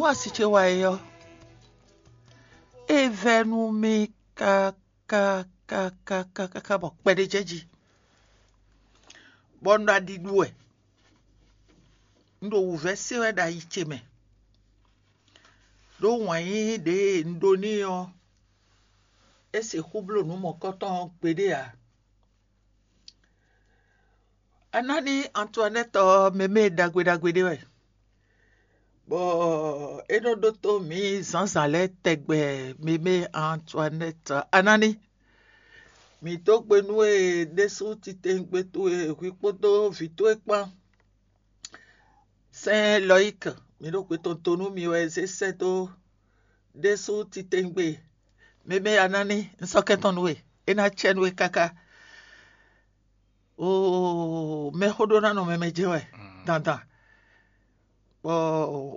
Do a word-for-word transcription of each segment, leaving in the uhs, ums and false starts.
Kpɔ́n asi ce wá é ɔ́, é vɛ́ nú mì káká káká káká bɔ kpɛɖé jɛ jí, bɔ un ɖo aɖi ɖu wɛ. Un ɖo wǔvɛ́ se wɛ ɖo ayi ce mɛ, ɖó wǎn yíyí ɖě un ɖó n'i ɔ́, é sixú bló nǔ mɔ̌kɔtɔn ɔ́ gbeɖé ǎ. Anáni Antoinette ɔ́, mɛ mɛ ɖagbe ɖagbe ɖé wɛ, bɔ é nɔ ɖótó mǐ zǎnzǎn lɛ́ɛ tɛgbɛ. Mɛ mɛ Antoinette Anáni, mǐ dó gbe nú we ɖésú titewungbe towe hwi kpódó vǐ towe kpán. Sɛ́n Lɔyík, mǐ ɖo xwe tɔn to nú mi wɛ zé sɛ́ dó ɖésú titewungbe. Mɛ mɛ Anáni, un sɔ́ kɛntɔ́ nú we, é ná cɛ nú we káká. Oo, mɛxó ɖó ná nɔ mɛ mɛ jɛ́n wɛ dandan. Bɔ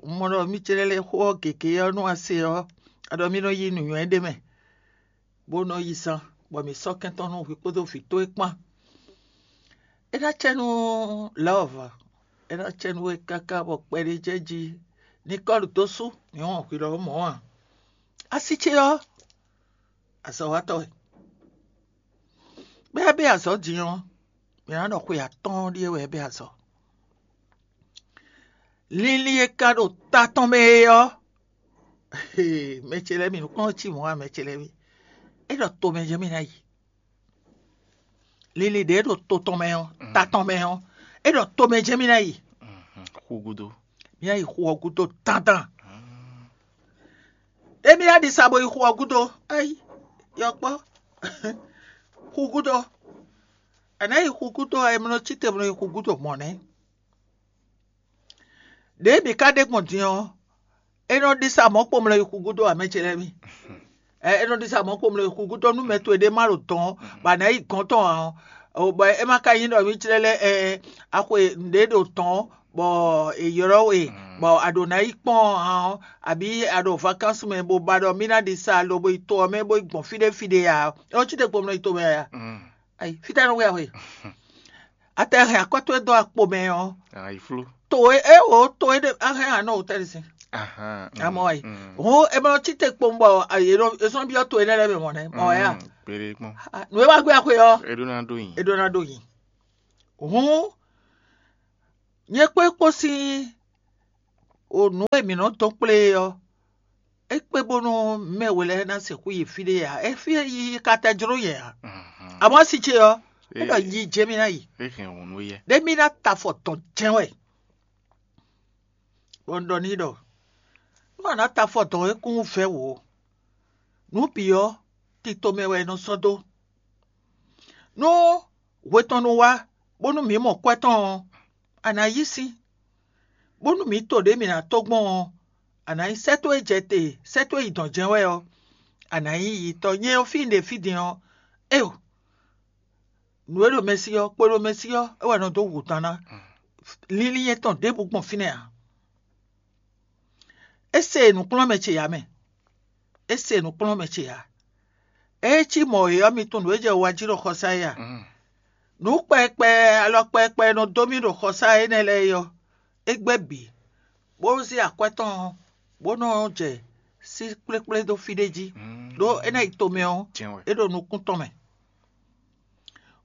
un mɔ ɖɔ mí ce lɛ́ɛ lɛ́ xó ɔ́ gěgé ɔ́ nú a se ɔ́, a ɖɔ mí nɔ yí nǔnywɛ́ ɖé mɛ, bó nɔ yi zan, bɔ mǐ sɔ́ kɛntɔ́ nú hwi kpódó vǐ towe kpán. É ná cɛ nú Lɔ̌v, é ná cɛ nú we káká bɔ kpɛɖé jɛ jí. Nikɔ́lu dó sú, mǐ wɔn hwi lɔmɔ̌ ǎ. Asi ce ɔ́, azɔ̌watɔ́ wɛ. Bɛ́ bɛ́ azɔ̌ din ɔ́, mǐ ná ɖɔ xwe atɔ́ɔ́n ɖíe wɛ é bɛ́ azɔ̌. Linlin e ka ɖo ta tɔn mɛ é ɔ́, mɛ ce lɛ́ɛ mi nǔkplɔ́n cí mɔ̌ ǎ, mɛ ce lɛ́ɛ mi. É ɖɔ tomɛ jɛ́n mì ná yi. Linlin ɖě ɖo to tɔn mɛ ɔ́, ta tɔn mɛ ɔ́, é ɖɔ tomɛ jɛ́n mì ná yi. Xú gúdo. Mì ná yi xu ɔ́ gúdo dandan. Émí ná ɖi sa bo yi xu ɔ́ gúdo. Ayi, yɔkpɔ́. Xu gúdo. È nǎ yi xu gúdo ɔ́, è nɔ cí te bó nɔ yi xu gúdo mɔ̌ nɛ́. Ɖěe mǐ ka ɖe gbɔn din ɔ́, é nɔ ɖi sa mɔ̌ kpomlɔ yi xu gúdo ǎ, mɛ ce lɛ́ɛ mi. Ɛ é nɔ ɖi sa mɔ̌ kpomlɔ yi xu gúdo nú mɛ towe ɖé má ɖo dɔn ɔ́, bɔ a nǎ yi gɔ̌n tɔn ǎ ɔ́, bɔ é ma ka nyí ɖɔ mí clɛ́ lɛ́ ɛ a xwe nǔɖé ɖo dɔn ɔ́, bɔ è ylɔ́ we, bɔ a ɖǒ ná yi kpɔ́n ǎ ɔ́, abǐ a ɖo vakansu mɛ bó ba ɖɔ mí ná ɖi sa lobo yi to ɔ́ mɛ bó yi gbɔn fí ɖé fí ɖé ǎ ɔ́, é nɔ cí te kpomlɔ yi tomɛ ǎ. Ayi, fítɛ́ nɔ wɛ a xwe? A tɛ hɛn akɔ́ towe dó akpo mɛ ɔ́, to e é wǒ to e ɖe a hɛn anɔ wǒ tɛ́ sin. Amɔ ayi. Hǔn è ma nɔ cí te kpowun bɔ è sɔ́ byɔ́ to énɛ́ lɛ́ɛ mɛ mɔ̌ nɛ́ mɔ wɛ a? Nǔ e wá gbé axwe ɔ́, é ɖó ná ɖó nyi. É ɖó ná ɖó nyi. Hǔn nyɛ kpó é kpó sín o nǔ e mǐ nɔ dɔn kplé é ɔ́, é kpé bónú mɛ we lɛ́ɛ ná sixú yi fí ɖé ǎ. É fí e yi ka tɛ jló nyɛ ǎ. Amɔ̌ asi ce ɔ́, é ɖɔ yi jɛ mì ná yi. É hɛn hǔn nú yɛ. Ɖé mì ná ta afɔ tɔn jɛ́n wɛ. Bɔ un ɖɔ n'i ɖɔ nú a nǎ ta afɔ dɔn é kún vɛ́ wǒ. Nǔ bǐ ɔ́, tito mɛ wɛ è nɔ sɔ́ dó. Nú hwe tɔn nu wá, bónú mǐ mɔ kwɛ́ tɔn ɔ́, a nǎ yí sín, bónú mǐ to ɖě mǐ ná tó gbɔn ɔ́, a nǎ nyí sɛ́ towe jɛ te, sɛ́ towe yi dɔ̌n jɛ́n wɛ ɔ́, a nǎ nyí yitɔ́ nyɛ ɔ́ fí un ɖe fí din ɔ́. Éyo, nǔ e ɖo mɛ sí ɔ́, kpo ɖo mɛ sí ɔ́, é wɛ nɔ dó hu dan ná. Linlin nyɛ tɔn ɖěbǔ gbɔn fínɛ́ ǎ. É se nǔkplɔ́nmɛ ce ǎ mɛ. É se nǔkplɔ́nmɛ ce ǎ. É cí mɔ̌ é ɔ́, mi tunwun nǔ e jɛ wa jí ɖo xɔsá é a? Nǔ kpɛkpɛ, alɔ kpɛkpɛ e nɔ dó mì ɖo xɔsá énɛ́ lɛ́ɛ é ɔ́, é gbɛ́ bǐ, bó zé akwɛ́ tɔn ɔ́, bó nɔ jɛ sí kplékplé dó fí ɖé jí, ɖó é ná yi tomɛ ɔ́, é ɖo nukún tɔn mɛ.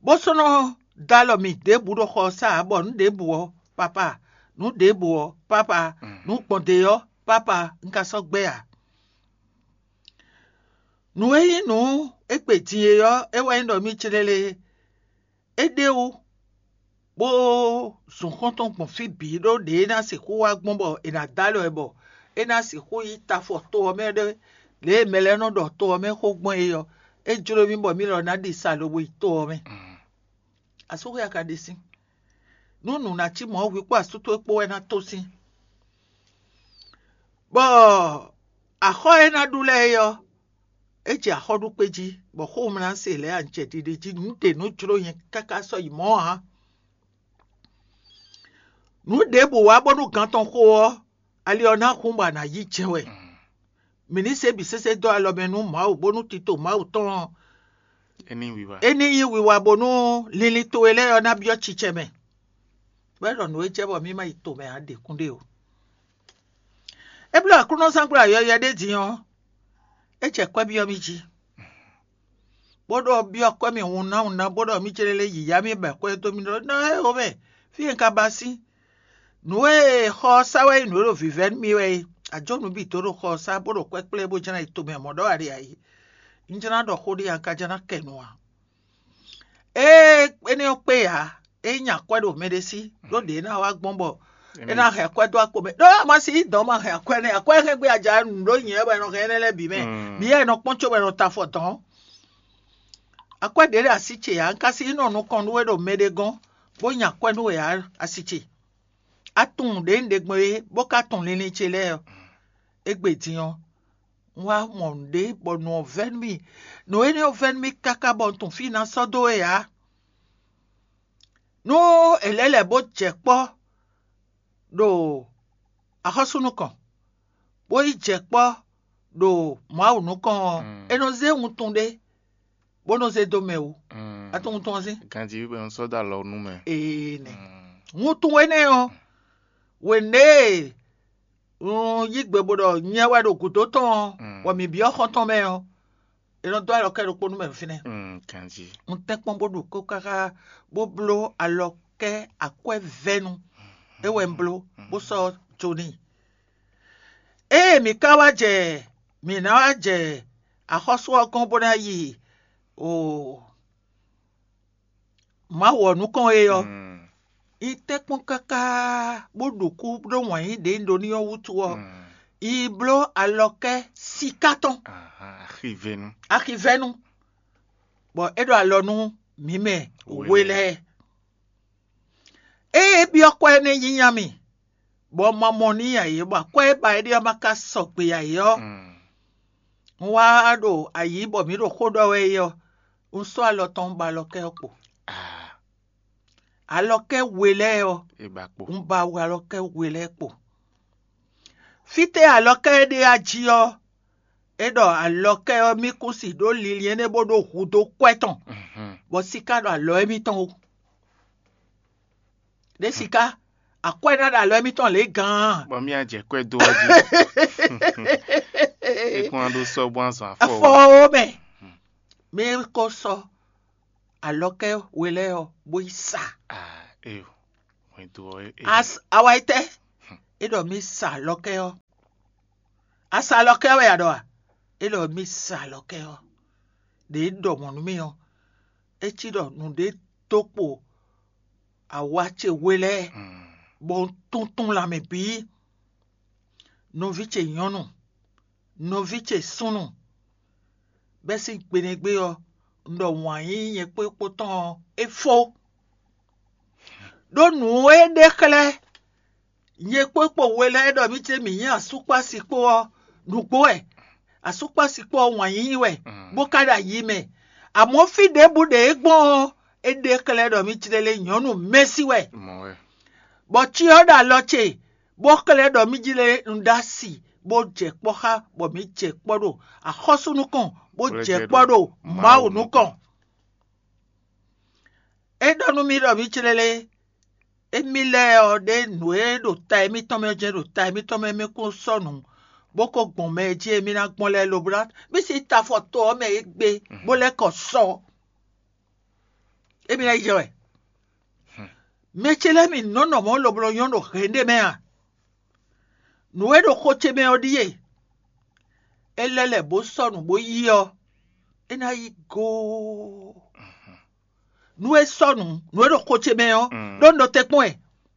Bó sɔ́ nɔ dó alɔ mì ɖěbǔ ɖo xɔsá ǎ, bɔ nǔ ɖěbǔ ɔ́, papa, nǔ ɖěbǔ ɔ́, papa, nǔ gbɔn ɖě ɔ́, papa, un ka sɔ́ gbɛ́ ǎ. Nǔ e nyí nǔ e gbe din é ɔ́, é wɛ nyí ɖɔ mì clélé. É ɖe wú, bó zun xɔ́ntɔn gbɔn fí bǐ ɖó ɖě é ná sixú wá gbɔn bɔ è nǎ dó alɔ ɛ bɔ é ná sixú yi tafɔ to ɔ́ mɛ ɖé, lě e mɛ lɛ́ɛ nɔ ɖɔ to ɔ́ mɛ xó gbɔn é ɔ́, é jló mì bɔ mì lɔ ná ɖi sa lobo yi to ɔ́ mɛ. Asúxwé a ka ɖe sín. Nú nǔ ná cí mɔ̌, hwi kpó asú towe kpó wɛ ná tó sín. Bɔ axɔ́ e ná ɖu lɛ́ɛ é ɔ́, é jɛ axɔ́ɖukpé jí, bɔ xówǒmlá se lɛ́ɛ a jɛ ɖiɖe jí nǔ ɖe nǔ jló nyɛ káká sɔ́ yi mɔ̌ ǎ. Nǔ ɖěbǔ wá bónú gǎn tɔn xo ɔ́, ali ɔ́ ná hun bɔ a nǎ yí jɛ wɛ. Mǐ ní se bǐ sésé dó alɔ mɛ nú Mawu bónú tito Mawu tɔn ɔ́, é ní wiwa. É ní nyí wiwa bónú linlin towe lɛ́ɛ ɔ́ ná byɔ́ cicɛ mɛ. Bɔ é ɖɔ nǔ e jɛ bɔ mì ma yi tomɛ ǎ ɖě kún ɖe o. É bló Aklúnɔzángbla yɔywɛ ɖé din ɔ́, é jɛ kwɛ́ byɔ́ mì jí, bó ɖɔ byɔ́ kwɛ́ mì hunnáhunná, bó ɖɔ mì céɖélé yǐyá mì bɔ kwɛ́ dó mì ɖɔ ná é xomɛ, fí e un ka ba sín. Nǔ e xɔ ɔ́ sá wɛ nyí nǔ e ɖo vǐvɛ́ nú mì wɛ é. Ajó nǔ bǐ dó ɖo xɔ ɔ́ sá, bó ɖo kwɛ́ kplé, bó jlá yi tomɛ mɔ̌ ɖɔ aɖe ǎ é. Un jlá ɖɔ xó ɖé ǎ, un ka jlá kɛ nu ǎ. Ée énɛ́ ɔ́ kpé ǎ, é nyí akwɛ́ ɖo mɛɖé sí, ɖó ɖě é ná wá gbɔn bɔ é ná hɛn akwɛ́ dó akpo mɛ. Ɖó a ma si yí dɔ̌n ma hɛn akwɛ́ nɛ́, akwɛ́ hɛn gbé aja nǔ ɖó nyɛ wɛ nɔ hɛn énɛ́ lɛ́ɛ bǐ mɛ. Mǐ wɛ nɔ kpɔ́n có wɛ nɔ ta afɔ dɔ̌n. Akwɛ́ ɖě ɖo así ce ǎ, un ka si yí nɔ nukɔn nú we ɖo mɛɖé gɔ́n, bó nya akwɛ́ nú we ǎ, asi ce. A tunwun ɖě un ɖe gbɔn é, bó ka tunwun linlin ce lɛ́ɛ ɔ́, égbé din ɔ́, un wá mɔ nǔɖé bɔ nǔ ɔ́ vɛ́ nú mì. Nǔ énɛ́ ɔ́ vɛ́ nú mì káká bɔ un tunwun fí e ná sɔ́ dó we ǎ. Nú è lɛ́ lɛ̌ bó jɛ kpɔ́ ɖo axɔ́sú nukɔn, bó yi jɛ kpɔ́ ɖo Mawu nukɔn ɔ́, é nɔ zé wuntun ɖé, bó nɔ zé dó mɛ wú. A tunwun wuntun ɔ́ sín? Ganjí wɛ un sɔ́ dó alɔ nú mɛ. Ee nɛ. Wuntun énɛ́ ɔ́, wěné e un yí gbe bó ɖɔ nyɛ wɛ ɖo gǔdo tɔn ɔ́, bɔ mǐ byɔ́ xɔ́ntɔn mɛ ɔ́, è nɔ dó alɔ kɛ ɖokpó nú mɛ fínɛ́. Ganjí. Un tɛ́nkpɔ́n bó ɖu kó káká bó bló alɔ kɛ akwɛ́vɛ́nu. É wɛ un bló, bó sɔ́ jó n'i. Ée mǐ ka wá jɛ mǐ ná wá jɛ axɔ́sú ɔ́ gɔ́n bó ná yi o Mawu ɔ́ nukɔn é ɔ́, yi tɛ́nkpɔ́n káká bó ɖo kú ɖó wǎn yí ɖě un ɖó n'i ɔ́ wútu ɔ́, yi bló alɔkɛ́ siká tɔn. Axivɛ́nu. Axivɛ́nu, bɔ é ɖo alɔ nú mǐ mɛ we lɛ́ɛ. Ée é byɔ́ kwɛ́ énɛ́ nyínyá mì, bɔ un ma mɔ n'i ǎ é, bɔ akwɛ́ e ba é ɖe ɔ́ ma ka sɔgbe ǎ é ɔ́, un wá ɖo ayǐ bɔ mǐ ɖo xó ɖɔ wɛ é ɔ́, un sɔ́ alɔ tɔn ba alɔkɛ́ ɔ́ kpo. Alɔkɛ́ we lɛ́ɛ ɔ́, un ba alɔkɛ́ we lɛ́ɛ kpo. Fítɛ́ alɔkɛ́ e ɖe a jí ɔ́, é ɖɔ alɔkɛ́ ɔ́ mì kún si ɖó linlin énɛ́ bó ɖó hudó kwɛ́ tɔn, bɔ siká ɖo alɔ émítɔn wú. Ɖé siká, akwɛ́ ná ɖo alɔ émítɔn lě gán. Bɔ mì ajɛ kwɛ́ dó ɔ́ jí. É kún wá ɖó sɔ́ bó azɔn afɔ. Afɔ ó mɛ. Mɛ ko sɔ́ alɔkɛ́ we lɛ́ɛ ɔ́ bó yi sa. Awa yi tɛ, é ɖɔ mì sa alɔkɛ́ ɔ́. A sa alɔkɛ́ ɔ́ wɛ a ɖɔ a? É ɖɔ mì sa alɔkɛ́ ɔ́. Ɖě é ɖɔ mɔ̌ nú mì ɔ́, é cí ɖɔ nǔɖé dó kpo awa ce we lɛ́ɛ, bɔ un tuntun lanmɛ bǐ. Nɔví ce nyɔ̌nu, nɔví ce súnnu, bɛ́ sín gbeɖégbé ɔ́, un ɖɔ wǎn yíyí nyɛ kpó é kpó tɔn ɔ́, é fó. Ɖó nǔ e ɖe xlɛ́ nyɛ kpó kpo we lɛ́ɛ ɖɔ mì ce mǐ nyí asúkpási kpó ɔ́, nǔgbó wɛ. Asúkpási kpó ɔ́ wǎn yíyí wɛ, bó ka ɖo ayi mɛ. Amɔ̌ fí ɖěbǔ ɖě é gbɔn ɔ́, é ɖe xlɛ́ ɖɔ mì ce lé nyɔ̌nu mɛ́sí wɛ. Bɔ cyɔ ɖo alɔ ce, bó xlɛ́ ɖɔ mì jlé un ɖó asi, bó jɛ kpɔ́ xá, bɔ mǐ jɛ kpɔ́ ɖo axɔ́sú nukɔn, bó jɛ kpɔ́ ɖo Mawu nukɔn. É ɖɔ nú mì ɖɔ mǐ clélé, émí lɛ́ɛ ɔ́ ɖe nǔ e ɖo ta émítɔn mɛ ɔ́ jɛ́n ɖo ta émítɔn mɛ mì kún sɔ́ nǔ, bó ko gbɔn mɛ e jí émí ná gbɔn lɛ́ɛ lobo ná mì sí ta afɔ to ɔ́ mɛ égbé, bó lɛ́ kɔ sɔ. Émí ná yi jɛ wɛ. Mɛ ce lɛ́ɛ mi nɔ́ nɔ mɔ̌ lobo nɔ nyɔ́ ɖo hɛ̌nɖé mɛ a? Nǔ e ɖo xo ce mɛ ɔ́ ɖíe: é lɛ́ lɛ̌ bó sɔ́ nǔ bó yí ɔ́, é ná yí goo. Nú é sɔ́ nǔ, nǔ e ɖo xo ce mɛ ɔ́, ɖó un ɖo te kpɔ́n ɛ.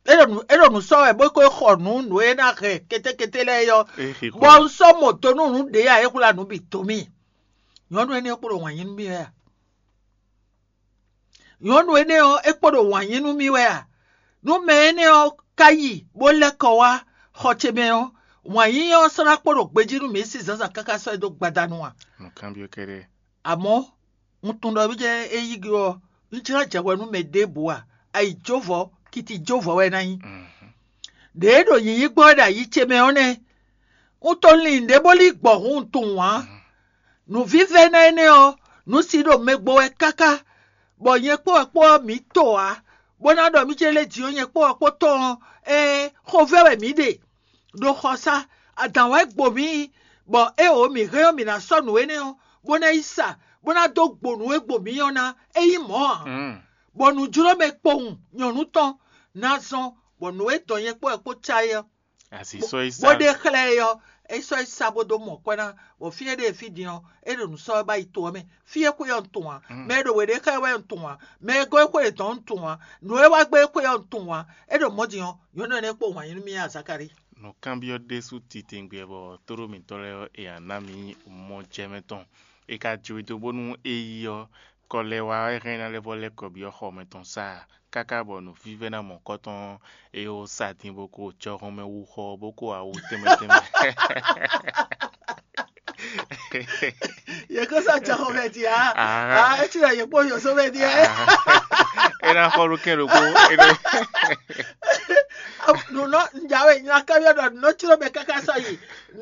É ɖo nǔ é ɖo nǔ sɔ́ wɛ bó ko xɔ nǔ nǔ e ná hɛn kétékété lɛ́ɛ é ɔ́, bɔ un sɔ́ mɔ do nú nǔ ɖě ǎ é hwlá nǔ bǐ dó mì. Nyɔ̌nu énɛ́ ɔ́ kpo ɖo wǎn yí nú mì wɛ a? Nyɔ̌nu énɛ́ ɔ́, é kpo ɖo wǎn yí nú mì wɛ a? Nú mɛ énɛ́ ɔ́ ka yi bó lɛ́ kɔ wá xɔ ce mɛ ɔ́, wǎn yí ɔ́ sɔ́ ná kpo ɖo gbejí nú mǐ sín zǎnzǎn káká sɔ́ ɛ dó gbada nu a? Nǔkanbyɔ́ kɛ́ɖɛ́. Amɔ̌, un tunwun ɖɔ mì jɛ́n é yí gbe ɔ́, un jlá jɛ hwɛ nú mɛ ɖěbǔ a? Ayi jóvɔ, kiti jóvɔ wɛ é ná nyí. Ɖě e ɖo nyǐnyí gbɔn wɛ ɖo ayi ce mɛ ɔ́ nɛ́. Un to lin ɖě bó lí gbɔ̌ hǔn un tunwun ǎ. Nǔvívɛ́ná énɛ́ ɔ́, nǔ si ɖo mɛ gbo wɛ káká, bɔ nyɛ kpó wɛ kpó ɔ́ mǐ to ǎ, bó ná ɖɔ mì ce lé jǐ ɔ́ nyɛ kpó wɛ kpó tɔn ɔ́, ɛɛ, xovɛ́ wɛ mǐ ɖe. Ɖo xɔsá, Adǎn wɛ gbo mǐ, bɔ éeǒ mǐ hɛn ɔ́, mǐ ná sɔ́ nǔ énɛ́ ɔ́, bó ná yi sa, bó ná dó gbo nǔ e gbo mǐ ɔ́ ná, é nyí mɔ̌ ǎ. Bɔ nǔjló mɛ kpowun nyɔ̌nu tɔn ná zɔ́n, bɔ nǔ e dɔn nyɛ kpó wɛ kpó cá é ɔ́, Asi sɔ́ yi bó sa. Ɖe xlɛ́ é ɔ́, é sɔ́ yi sa bó dó mɔ kwɛ́ ná, bɔ fí e ɖe fí din ɔ́, é ɖo nǔ sɔ́ wɛ bá yi to ɔ́ mɛ. Fí e xwe ɔ́ un tunwun ǎ, mɛ e ɖo we ɖe xlɛ́ wɛ un tunwun ǎ, mɛ e gɔ́ é xwe yětɔn un tunwun ǎ, nǔ e wá gbé é xwe ɔ́ un tunwun ǎ. É ɖo mɔ̌ din ɔ́, nyɔ̌nu énɛ́ kpo wǎn yí nú mì, Azakalíi. Nǔkanbyɔ́ ɖésú titewungbe bɔ tóɖó mǐtɔn lɛ́ɛ ɔ́, è nǎ ná mǐ mɔ jɛ mɛ tɔn. È ka jǒ we dó bónú é yi ɔ́, kɔ lɛ́ wá wɛ hɛn ná lɛ́ vɔ lɛ́ kɔ byɔ́ xɔ mɛ tɔn sá a? Káká bɔ nǔvívɛ́ná mɔ̌kɔtɔn ɔ́, é wó sa din bó ko jɔhɔn mɛ wú xɔ bó ko awu tɛnmɛ tɛnmɛ. Yě kó sɔ́ jɔhɔn mɛ din ǎ. Ah. Ah, é cí ɖɔ yě kpó yǒzo mɛ din ǎ. Ah. É ná xɔ ɖó kɛn ɖokpó. É ɖó. Nǔnɔ njawe nyakábyɔ́ ɖɔ nǔnɔ cló mɛ káká sɔ́ yi,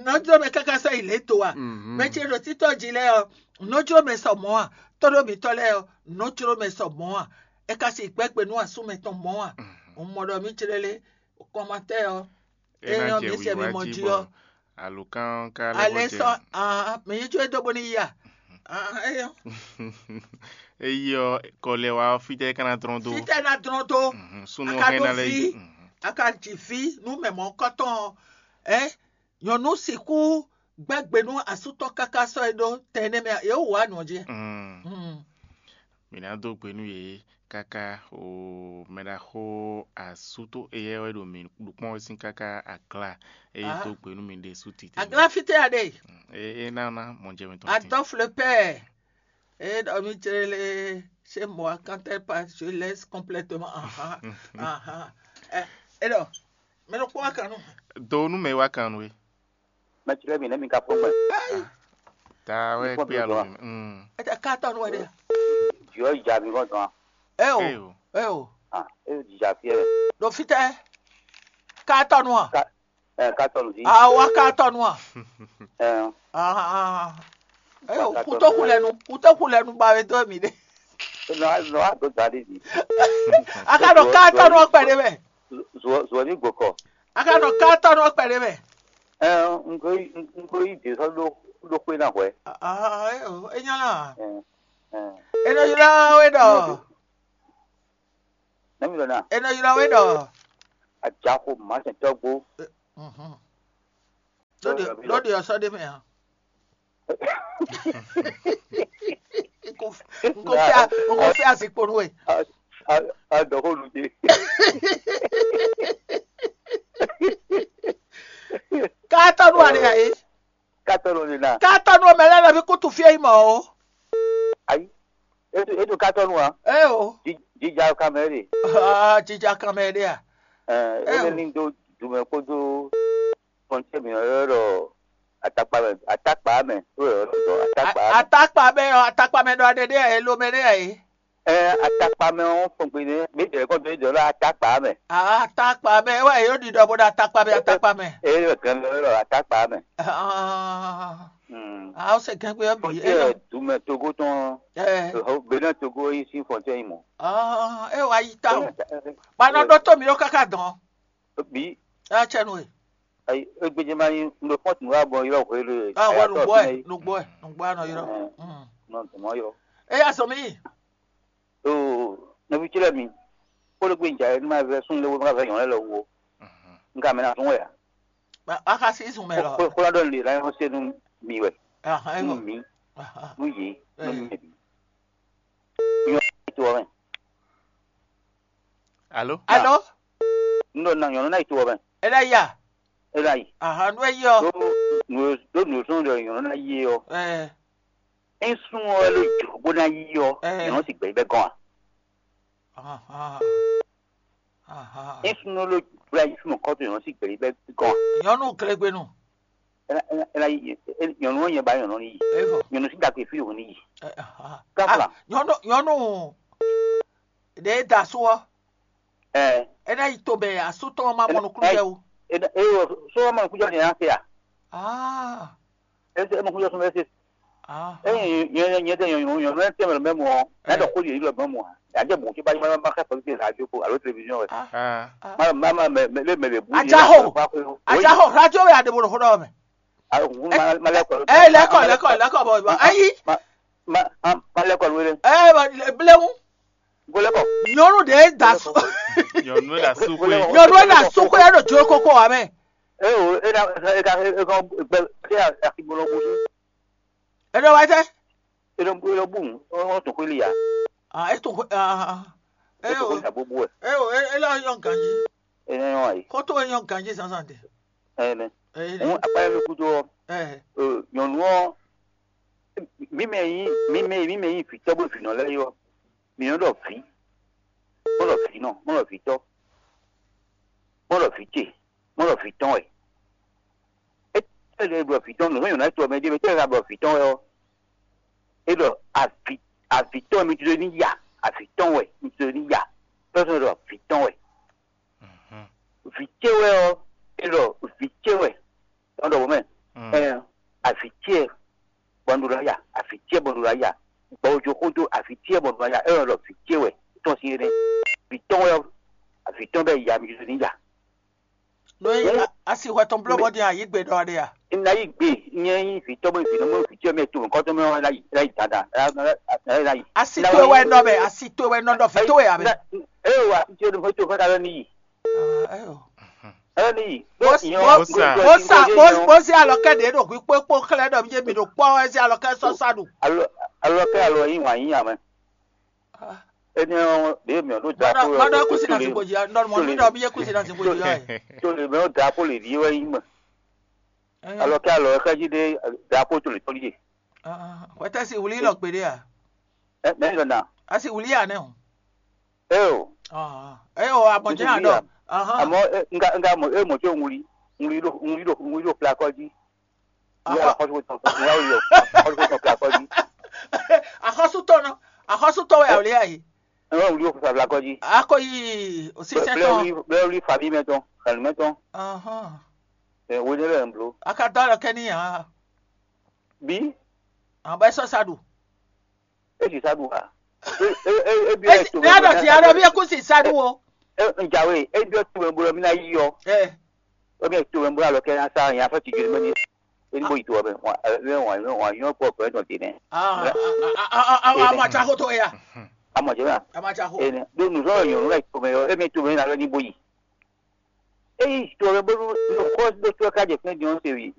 nǔnɔ cló mɛ káká sɔ́ yi lě do a? Mhm. Mɛ ce ɖo títɔ́ jí lɛ́ɛ ɔ́, nǔnɔ cló mɛ sɔ mɔ̌ a? Tɔ́ ɖó mǐtɔn lɛ́ɛ ɔ́, nǔnɔ cló mɛ sɔ mɔ̌ a? É ka sixú gbɛ́ gbe nú asú mɛtɔn mɔ̌ a? Mhm. Un mɔ ɖɔ mǐ clélé kɔmatɛ́ ɔ́, é É ná nyɔ́ jɛ mǐ sɛ wǐwá mimɔ jí jí bɔ ɔ́. Alǒkan ɔ́ ka lɛ́ alɛ bɔ jɛ. Sɔ aa mǐ yi jó e dó bó ní yi a? Aa eyɔ. Eyi ɔ́, kɔ lɛ wá ɔ́, fítɛ́ é ka ná dlɔ́n dó? Fítɛ́ ná dlɔ́n dó? Mhm, súnnu a ɔ́ ka hɛn dó ná lɛ́ ví, yi. Mhm. A ka ji ví nú mɛ mɔ̌kɔtɔn ɔ́, ɛ nyɔ̌nu sixú gbɛ́ gbe nú asú tɔn káká sɔ́ é ɖó tɛn énɛ́ mɛ a? Yě wú wǎ nǔ ɔ́ jí. Mm. Mm. Mǐ ná dó gbe nú yě káká o mɛɖaxó asú tó éyɛ́ wɛ ɖo mǐ ɖu kpɔ́n wɛ sín káká agla eye Ah. Dó gbe nú mì ɖésú titewungbe. Agla fítɛ́ a ɖe? Mm, é é ná ná mɔ jɛ mɛ tɔn tín. Adolphe le père. Et dans mi chérie, chez moi, quand elle parle, je laisse complètement. Aha, aha. Eh, et donc, mais le quoi quand nous? Do nú mɛ wá kan nú é. Mɛ ce lɛ́ɛ bǐ nɛ́ mi ka kpɔ́n gbɛn. Ta wɛ Ikpɔ́n kpé alo dɔn. Mi. Mm. Ete ka tɔ nu wɛ ɖe. Jɔ yi ja mi vɔn dɔn. Eo. Eo. Eo. Ah, e di ja fiɛ. Ɖo fítɛ́. Ka tɔ nu a? Ka eh ka tɔ nu di. Awa ka tɔ nu a? Eh. Ah ah. Eo, kuto kulɛ nu, kuto kulɛ nu ba we dɔ mi ɖe. No no a do da di di. A ka ɖo ka tɔ nu ɔkpɛ ɖe mɛ. Zuɔ zuɔ ni gbɔkɔ. A ka ɖo ka tɔ nu ɔkpɛ ɖe mɛ. Eh, n ko yi n ko yi de sɔ ɖo ɖo xwe na hwɛ. Ah, eo, e nya la. Eh. Eh. E nɔ ylɔ we ɖɔ. Nɛmi ɖɔ na. E nɔ ylɔ we ɖɔ. Ajaxo masɛntɔgbo. Mhm. Lóde lóde ɔsɔ ɖe mɛ a. Nko fia nko fia zikpo nu we. Adɔxo lu de. Ka tɔ nu a ɖe a ye? Ka tɔ nu a ɖe na? Ka tɔ nu mɛ lɛ lɛ bi kutu fie yi mɔ o. Ayi. Etu etu ka tɔ nu a? Ee o. Jija kamɛ de. Aa jija kamɛ de a? Ɛɛ ele ni do dumɛ kpodo fɔntɛ mi yɔrɔ dɔ atakpa mɛ atakpa mɛ o yɔrɔ dɔ atakpa mɛ. Atakpa mɛ ɔ atakpa mɛ dɔ aɖe de a ye lo mɛ de a ye? Ɛɛ atakpa mɛ ɔ fɔn gbe ne mi jɛ kɔ do jɔ lɔ atakpa mɛ. Atakpa mɛ wa yóò ɖiɖɔ bó ɖo atakpa mɛ atakpa mɛ. Ee yɔ gɛn lɔ lɔ atakpa mɛ. Aa o se gɛn gbe yɔ bi. Fɔntɛ dumɛ togo tɔn. Ɛɛ. Benin togo yi sin fɔntɛ yi mɔ. Aa e wa yi ta o. Ba nɔ ɖɔ to mi ɖo kaka dɔn. Bi. Ɛ cɛ nu e. Ayi egbedze ma yi ŋɖo fɔn tun wa bɔ yɔ hwe le. Ah wɛ nugbo ɛ nugbo ɛ nugbo anɔ yɔ. Nɔ tun mɔ yɔ. Eya sɔ mi. Oo nɔvi ce lɛ mi kpolo gbe nja yɛ numa vɛ sun lɛ wo numa vɛ nyɔ lɛ lɔ wo. Nka mɛ na sun wɛ ya. A ka si sun mɛ lɔ. Kpolo dɔ le la yɔ se nu mi wɛ. Nu mi nu ye nu mi yɛ bi. Nyɔ to wɛ. Alo. Alo. N ɖɔ na nyɔnu na yi to wɛ mɛ. E la ya. E la yi. Aha nu e yi ɔ. Do nu do nu sɔn ɖɔ nyɔnu na yi ɔ. Ɛɛ. Ŋsún ɔ́ ló jǒ bó ná yí ɔ́, Ɛɛ. Nyɔ̌nu sì gbɛ̌ bɛ́ gɔ́n a? Ahan. Ahan. Ŋsún ɔ́ ló jǒ ayí súnmọ́ kɔ́tɔn nyɔ̌nu sì gbɛ̌ bɛ́ gɔ́n a? Nyɔ̌nu glegbenu. Ena ena ena yi nyɔ̌nu ɔ́ nyɛ ba nyɔ̌nu ní yi. Evo. Nyɔ̌nu sí dagbe fí òun ní yi. Ɛ, ahan. Gáfla. Ah, nyɔ̌nu nyɔ̌nu ɖe da so ɔ́. Ɛ. Ena yi to bɛ asú tɔn ma mɔ nukúnnú jɛ o. Ena eyɔ sɔ ma nukúnnú jɛ o ní yà fẹ́ a? Ah. Ese ema kuya sɔmɛ ese. Ényí nyɛ nyɛ tɛ nyɔnu nyɔnu ɛ tɛ mɛ mɛ mɔ ɛ dɔ ko yeli lɔ mɛ mɔ a yà jẹ mɔ tí bá yẹ má xɛ fɔ tẹ radio ko alo télévision wɛ Ah. má má má mɛ mɛ lé mɛ lè bu Ajaho. Ajaho, radio wɛ aɖe bolo xó ɖɔ mɛ. Má lɛ kɔ Ɛ lɛkɔ lɛkɔ lɛkɔ bɔ bɔ ayi. Má lɛ kɔ lóore Ɛ bléwu. Go lɛkɔ. Nyɔnu ɖe da su. Nyɔnu la su xwe. Nyɔnu la su xwe ɖo jlo koko wa mɛ. E o e na e ka e ka gbɛ e ka ti bolo bu. Ɛ ɖɔ wa tɛ. E lɔ bu e lɔ bu ɔn tun xwili ya. Ah, e tun xwe ah ah. E tun xwili ya bobo ɛ. E o e e lɔ yɔn ganji. E na yɔn ayi. Koto e yɔn ganji sansan de. Ɛnɛ. Eyi Hun akpa yɛ mi kudo ɔ. Ɛ. Nyɔnu ɔ mímɛ yí mímɛ mímɛ yí vǐtɔ́ bó vǐnɔ lɛ́ɛ yɔ. Mi nɔ ɖɔ vǐ. Mɔ ɖɔ vǐnɔ, mɔ ɖɔ vǐtɔ́. Mɔ ɖɔ vǐ ce, mɔ ɖɔ vǐtɔ́n wɛ. É tɛ́ lɛ ɖɔ vǐtɔ́n nǔ nyɔ̌ná tɔn mɛ ɖé mɛ tɛ́ lɛ ɖɔ vǐtɔ́n wɛ ɔ́. É ɖɔ avǐ avǐtɔ́n wɛ mi jló ní ya, avǐtɔ́n wɛ mi jló ní ya. Pɛ́sɔn ɖɔ vǐtɔ́n wɛ. Vǐ ce wɛ ɔ́, é ɖɔ vǐ ce wɛ. Tɔn ɖɔ mɛ. Ɛ avǐ ce bɔ un ɖo ná ya, avǐ ce bɔ un ɖo ná ya. Gbɔwòjó xódó avǐ ce bɔ un ɖo ná ya, é ɖɔ vǐ ce wɛ. Tɔn sín énɛ́. Vǐtɔ́n wɛ ɔ́, avǐtɔ́n bɛ ya mi jló ní ya. Nú asi hwɛ tɔn bló bɔ din ayǐ gbe ɖɔ ɖe a? Ná yí gbe nyɛ nyí vǐtɔ́ bɔ vǐnɔ mɔ vǐ ce mɛ to nukɔn tɔn mɛ ɔ́ ná yí ná yí dandan ná yí. Asi towe wɛ nɔ mɛ, asi towe wɛ nɔ ɖɔ vǐ towe a mɛ. Eye wa asi ce ɖo fɔ to fɔ ta lɔ ní yí. Ayo. Lɔ ní yí. Mo sa mo sa mo mo si alɔkɛ ɖe ɖo hwi kpó kpó xlɛ ɖɔ mi mi ɖo kpɔ ɛ si alɔkɛ sɔ sa ɖu. Alɔ kɛ alɔ yí wǎn yí amɛ. Énɛ́ ɔ́ ɖě mǐ ɔ́ ɖó drapo Mɔdɔ kusi na zigbo dzi nɔ mɔ mi ɖɔ mi yé kusi na zigbo dzi yɛ. To lè mɛ ɔ́ drapo lè ɖi wɛ yí mɛ. Alɔ kɛ alɔ xɛji ɖé drapo to lè tɔn ɖíe. Hwɛtɛ si wuli lɔ gbeɖe a? Mɛ lɔ na. Asi wuli a nɛ o. Eo. Eo amɔjɛ a ɖɔ. Amɔ nga nga mɔ e mɔ tso wuli wuli ɖo wuli ɖo wuli ɖo plakɔ dzi. Wuli ɖo plakɔ dzi. Axɔsutɔ nɔ axɔsutɔ wɛ awuli ayi. Ɛn wɛ wuli ɖo plakɔ dzi. Akɔ yi osisɛ tɔn. Blɛ wuli fabi mɛ tɔn xɛlu mɛ tɔn. Ɛ wo ne lɛ n blo. Aka dɔ alɔ kɛ ni yan. Bi. Abɛ sɔ sa ɖu. E si sa ɖu wa. E e e bi ɛ to. Ne a ɖɔ ti a ɖɔ bi eku si sa ɖu o. E n jawe e bi ɛ to mɛ bolo mi na yi yɔ. Ɛ. E bi ɛ to mɛ bolo alɔ kɛ na sa yan fɛ ti joli mɛ ni. E ni bo yi to wa mɛ wa wa wa yɔ kpɔ pɛ dɔn te nɛ. Aa aa aa aa aa ma tsa ko to ya. Amɔ jɛ ma. A ma tsa ko. Ene do nuzɔlɔ nyɔnu la yi to mɛ yɔ e mi to mɛ na lɔ ni bo yi. E yi to mɛ bolo nukɔ do to ka jɛ fɛn jɔn se wi.